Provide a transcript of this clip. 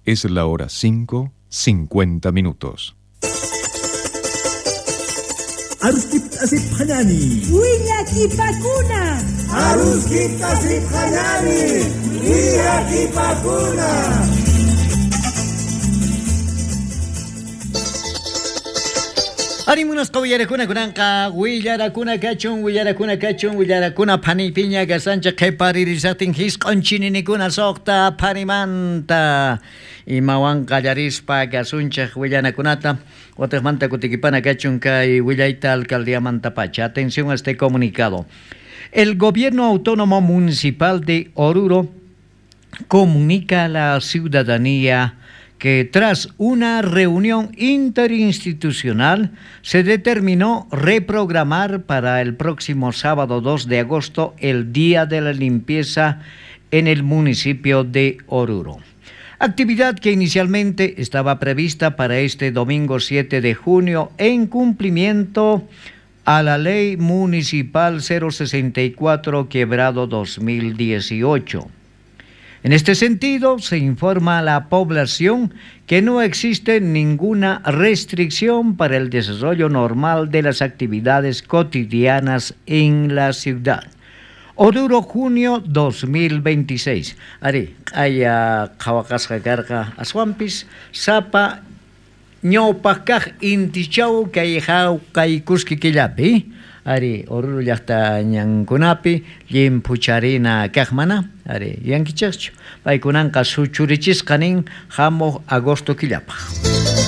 Es la hora 5, 50 minutos. Aruskipta asipqallani. Willakipakuna. Aruskipta asipqallani. Willakipakuna. Arimunasqa uyarakuna kunanqa willarakuna kachun willarakuna kachun willarakuna phanipiña kasanchik qhiparirisaqtin hisq'un chininikuna suqta phanimanta imawan qallarispa kasunchik willanakunata watiqmanta kutikipana kachun kay willayta alcaldiamantapacha. Atención a este comunicado. El gobierno autónomo municipal de Oruro comunica a la ciudadanía que tras una reunión interinstitucional se determinó reprogramar para el próximo sábado 2 de agosto el Día de la Limpieza en el municipio de Oruro. Actividad que inicialmente estaba prevista para este domingo 7 de junio en cumplimiento a la Ley Municipal 064 quebrado 2018. En este sentido, se informa a la población que no existe ninguna restricción para el desarrollo normal de las actividades cotidianas en la ciudad. Oruro, junio 2026. Ari, q'aya qhawaqasqa karqa aswanpis sapa ñawpaq kaq intichaw kay hawkaykuski killapi. Ari, Oruro llaqta ñankunapi llimphucharina kaq mana, ari, yankichaqchu. Paykunanqa suchurichisqa nin hamuq agosto killapaq.